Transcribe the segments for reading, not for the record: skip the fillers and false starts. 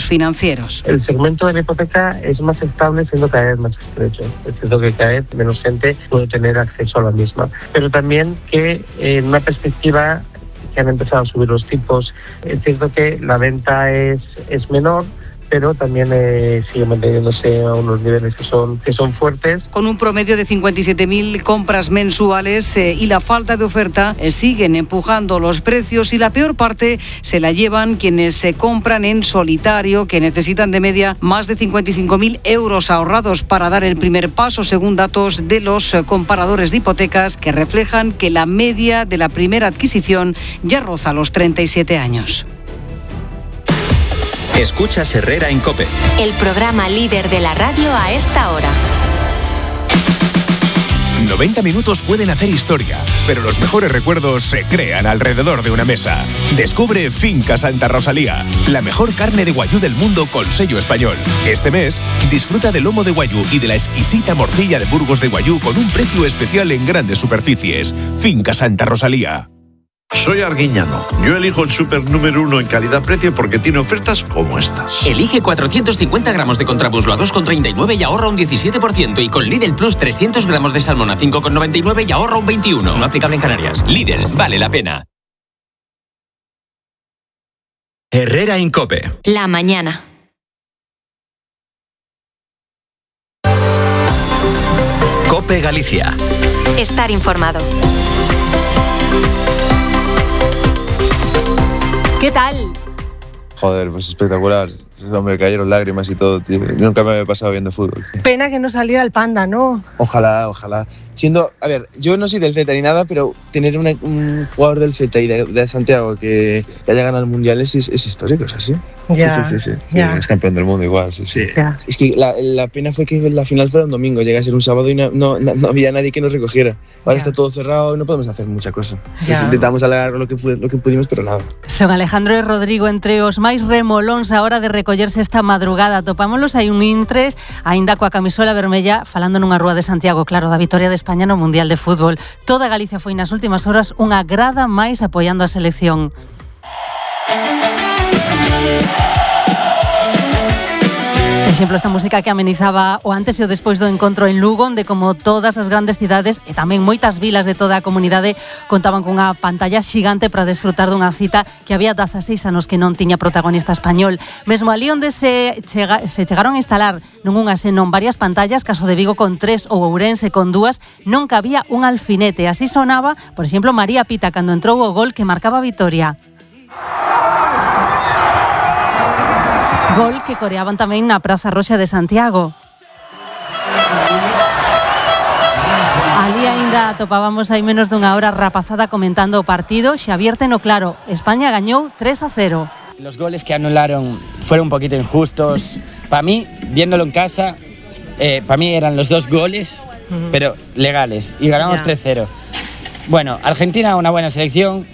financieros. El segmento de la hipoteca es más estable, siendo cada vez más estrecho. Es cierto que cada vez menos gente puede tener acceso a la misma. Pero también que en una perspectiva que han empezado a subir los tipos, es cierto que la venta es menor, pero también sigue manteniéndose a unos niveles que son fuertes. Con un promedio de 57.000 compras mensuales y la falta de oferta siguen empujando los precios, y la peor parte se la llevan quienes se compran en solitario, que necesitan de media más de 55.000 euros ahorrados para dar el primer paso, según datos de los comparadores de hipotecas, que reflejan que la media de la primera adquisición ya roza los 37 años. Escuchas Herrera en COPE. El programa líder de la radio a esta hora. 90 minutos pueden hacer historia, pero los mejores recuerdos se crean alrededor de una mesa. Descubre Finca Santa Rosalía, la mejor carne de guayú del mundo con sello español. Este mes, disfruta del lomo de guayú y de la exquisita morcilla de Burgos de guayú con un precio especial en grandes superficies. Finca Santa Rosalía. Soy Arguiñano. Yo elijo el súper número 1 en calidad-precio porque tiene ofertas como estas. Elige 450 gramos de contramuslo a 2,39 y ahorra un 17%. Y con Lidl Plus 300 gramos de salmón a 5,99 y ahorra un 21%. No aplicable en Canarias. Lidl, vale la pena. Herrera en COPE. La mañana. COPE Galicia. Estar informado. ¿Qué tal? Joder, pues espectacular. Me cayeron lágrimas y todo, tío. Nunca me había pasado viendo fútbol. Pena que no saliera el Panda, ¿no? Ojalá. A ver, yo no soy del Celta ni nada, pero tener un jugador del Celta y de Santiago que haya ganado el Mundial es histórico, ¿es así? Ya, Sí. ya. Es campeón del mundo igual, sí. Ya. Es que la pena fue que la final fuera un domingo, llega a ser un sábado y no había nadie que nos recogiera. Ahora está todo cerrado y no podemos hacer mucha cosa. Intentamos alargar lo que pudimos, pero nada. Son Alejandro y Rodrigo entre os máis remolóns a hora de recollerse esta madrugada. Topámonos hai un intres, aínda coa camisola vermella, falando nunha rúa de Santiago, claro, da vitoria de España no Mundial de Fútbol. Toda Galicia foi nas últimas horas unha grada máis apoiando a selección. Exemplo, esta música que amenizaba o antes e o despois do encontro en Lugo, onde como todas as grandes cidades e tamén moitas vilas de toda a comunidade contaban cunha pantalla xigante para desfrutar dunha cita que había 16 anos que non tiña protagonista español. Mesmo ali onde se chegaron a instalar non unha senón varias pantallas, caso de Vigo con 3 ou Ourense con 2, non cabía un alfinete. Así sonaba, por exemplo, María Pita cando entrou o gol que marcaba a vitoria. Gol que coreaban tamén na Praza Roxa de Santiago. Ali aínda topábamos hai menos dunha hora rapazada comentando o partido. Xavier Teno claro, España gañou 3-0. Los goles que anularon fueron un poquito injustos. Para mí, viéndolo en casa, para mí eran los 2 goles, pero legales. Y ganamos 3-0. Bueno, Argentina una buena selección.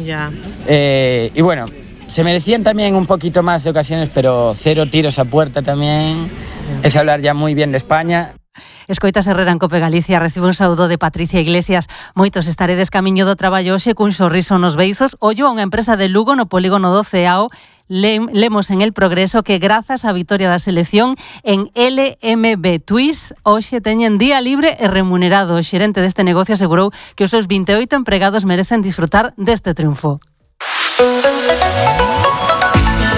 Y bueno, se merecían también un poquito más de ocasiones, pero 0 tiros a puerta también. Es hablar ya muy bien de España. Escoitas Herrera en COPE Galicia, recibe un saúdo de Patricia Iglesias. Moitos estaredes camiño do traballo hoxe cun sorriso nos beizos. Ollo a unha empresa de Lugo no polígono do Ceao. Lemos en El Progreso que grazas á vitoria da selección en LMB Twist hoxe teñen día libre e remunerado. O xerente deste negocio asegurou que os seus 28 empregados merecen disfrutar deste triunfo.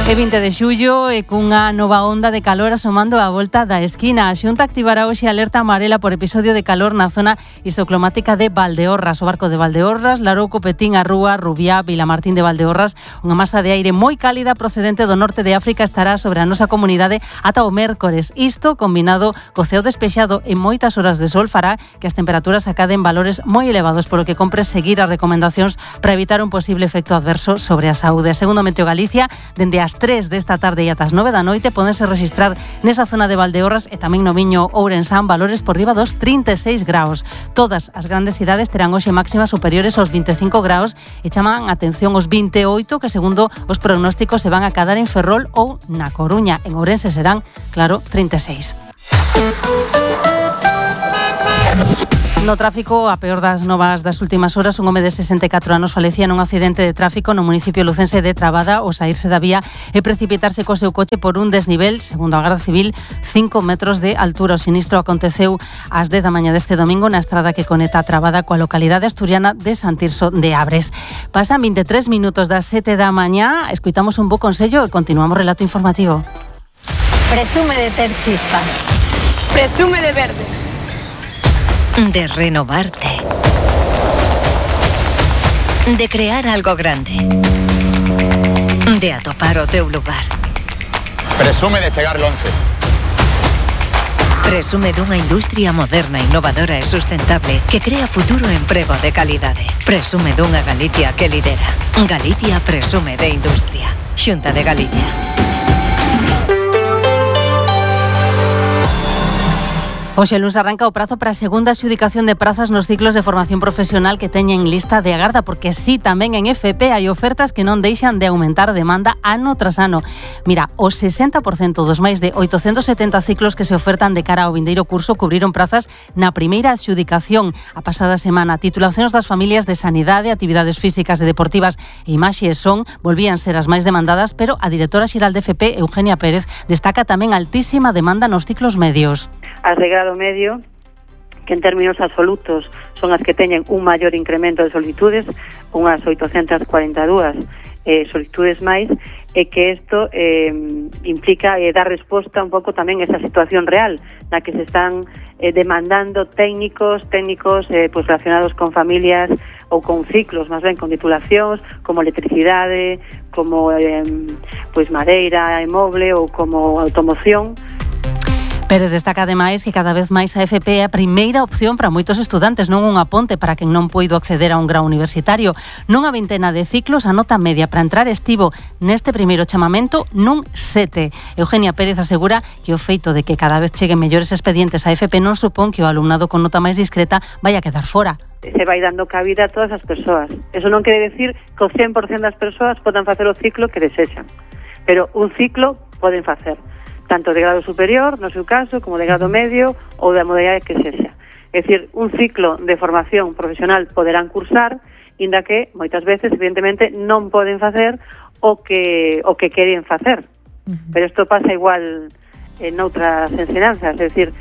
É 20 de xullo e cunha nova onda de calor asomando a volta da esquina. A Xunta activará hoxe alerta amarela por episodio de calor na zona isoclimática de Valdeorras. O barco de Valdeorras, Larouco, Petín, Arrúa, Rubiá, Vilamartín de Valdeorras. Unha masa de aire moi cálida procedente do norte de África estará sobre a nosa comunidade ata o mércores. Isto, combinado co ceo despexado e moitas horas de sol, fará que as temperaturas acaden valores moi elevados, polo que compre seguir as recomendacións para evitar un posible efecto adverso sobre a saúde. Segundo Meteo Galicia, dende as 3 desta tarde e ata as 9 da noite podense registrar nesa zona de Valdeorras e tamén no Miño Ourensán valores por riba dos 36 graus. Todas as grandes cidades terán hoxe máximas superiores aos 25 graus e chaman atención os 28 que segundo os pronósticos se van a cadar en Ferrol ou na Coruña. En Ourense serán, claro, 36. No tráfico, a peor das novas das últimas horas, un home de 64 anos falecía nun accidente de tráfico no municipio lucense de Trabada ao saírse da vía e precipitarse co seu coche por un desnivel, segundo a Garda Civil, 5 metros de altura. O sinistro aconteceu ás 10 da mañá deste domingo na estrada que conecta Trabada coa localidade asturiana de San Tirso de Abres. Pasan 23 minutos das 7 da mañá, escoitamos un bo consello e continuamos relato informativo. Presume de ter chispa. Presume de verde. De renovarte. De crear algo grande. De atopar o teu lugar. Presume de chegar lonxe. Presume dunha industria moderna, innovadora e sustentable que crea futuro e emprego de calidade. Presume dunha Galicia que lidera. Galicia presume de industria. Xunta de Galicia. Hoxe luns arranca o prazo para a segunda adxudicación de prazas nos ciclos de formación profesional que teñen lista de agarda, porque sí, tamén en FP hai ofertas que non deixan de aumentar a demanda ano tras ano. Mira, o 60% dos máis de 870 ciclos que se ofertan de cara ao vindeiro curso cubriron prazas na primeira adxudicación a pasada semana. Titulacións das familias de sanidade, actividades físicas e deportivas e imaxe e son volvían ser as máis demandadas, pero a directora xeral de FP, Eugenia Pérez, destaca tamén altísima demanda nos ciclos medios. As de grado medio, que en términos absolutos son as que teñen un maior incremento de solicitudes, unhas 842 solicitudes máis, e que isto implica dar resposta un pouco tamén a esa situación real na que se están demandando técnicos pues relacionados con familias ou con ciclos, máis ben con titulacións como electricidade, como pues madeira e moble ou como automoción. Pérez destaca ademais que cada vez máis a FP é a primeira opción para moitos estudantes, non unha ponte para quen non poido acceder a un grau universitario. Nunha vintena de ciclos, a nota media para entrar estivo neste primeiro chamamento nun 7. Eugenia Pérez asegura que o feito de que cada vez cheguen mellores expedientes a FP non supón que o alumnado con nota máis discreta vai a quedar fora. Se vai dando cabida a todas as persoas. Eso non quere decir que o 100% das persoas podan facer o ciclo que desexan, pero un ciclo poden facer, tanto de grado superior, no seu caso, como de grado medio ou da modalidade que sexa. É dicir, un ciclo de formación profesional poderán cursar, inda que moitas veces, evidentemente, non poden facer o que queren facer. Pero isto pasa igual en outras ensinanzas, é dicir,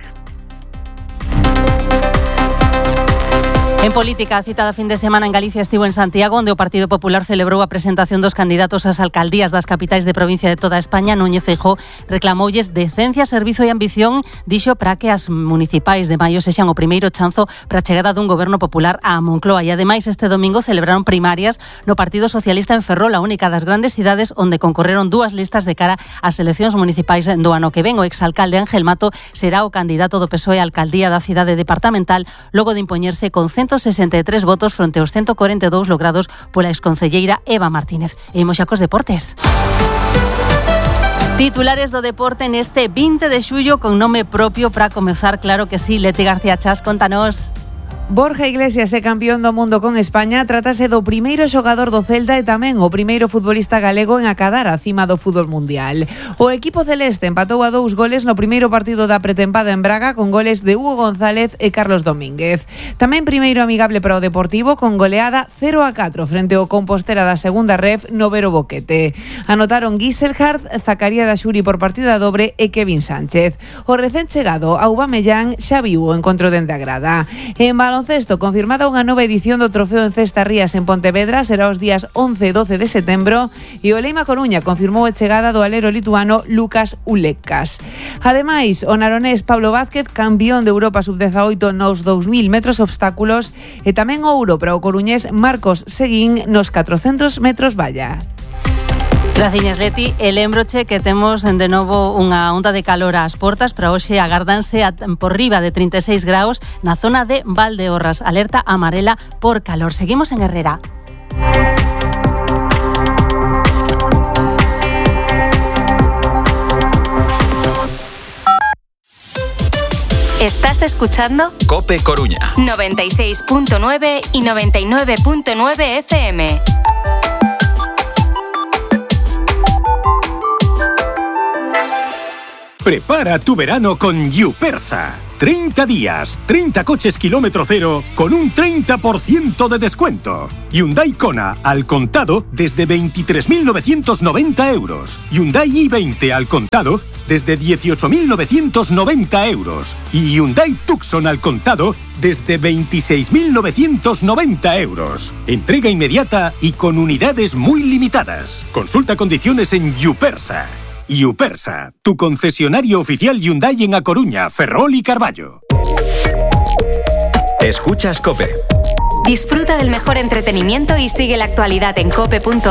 En política, a cita da fin de semana en Galicia estivo en Santiago, onde o Partido Popular celebrou a presentación dos candidatos ás alcaldías das capitais de provincia de toda España. Núñez Feijóo reclamoulles decencia, servizo e ambición, dixo, para que as municipais de maio sexan o primeiro chanzo para a chegada dun goberno popular á Moncloa. E ademais, este domingo celebraron primarias no Partido Socialista en Ferrol, a única das grandes cidades onde concorreron dúas listas de cara ás eleccións municipais do ano que ven. O exalcalde Ángel Mato será o candidato do PSOE á alcaldía da cidade departamental, logo de impoñerse con 163 votos fronte aos 142 logrados pola exconcelleira Eva Martínez. E imos xa cos deportes. Titulares do deporte neste 20 de xullo con nome propio para comezar, claro que sí. Leti García Chas, contanos. Borja Iglesias é campeón do mundo con España. Trátase do primeiro xogador do Celta e tamén o primeiro futbolista galego en acadar a cima do fútbol mundial. O equipo celeste empatou a 2 goles no primeiro partido da pretempada en Braga con goles de Hugo González e Carlos Domínguez. Tamén primeiro amigable para o Deportivo con goleada 0-4 frente ao Compostela da segunda ref no Vero Boquete. Anotaron Giselhard, Zacaría da Xuri por partida dobre e Kevin Sánchez. O recén chegado Aubameyang xa viu o encontro dende a grada. En baloncesto, confirmada unha nova edición do Trofeo en Cesta Rías en Pontevedra, será os días 11 e 12 de setembro, e o Leima Coruña confirmou a chegada do alero lituano Lukas Ulekas. Ademais, o naronés Pablo Vázquez, campeón de Europa sub-18 nos 2000 metros obstáculos, e tamén ouro para o coruñés Marcos Seguín nos 400 metros vallas. Graciñas, Leti. E lembroche que temos de novo unha onda de calor ás portas. Para hoxe agárdanse por riba de 36 graus na zona de Valdeorras. Alerta amarela por calor. Seguimos en Herrera. Estás escuchando COPE Coruña 96.9 y 99.9 FM. Prepara tu verano con Yupersa. 30 días, 30 coches kilómetro cero con un 30% de descuento. Hyundai Kona al contado desde 23.990 euros. Hyundai i20 al contado desde 18.990 euros. Y Hyundai Tucson al contado desde 26.990 euros. Entrega inmediata y con unidades muy limitadas. Consulta condiciones en Yupersa. Yupersa, tu concesionario oficial Hyundai en A Coruña, Ferrol y Carballo. Escuchas COPE. Disfruta del mejor entretenimiento y sigue la actualidad en cope.es.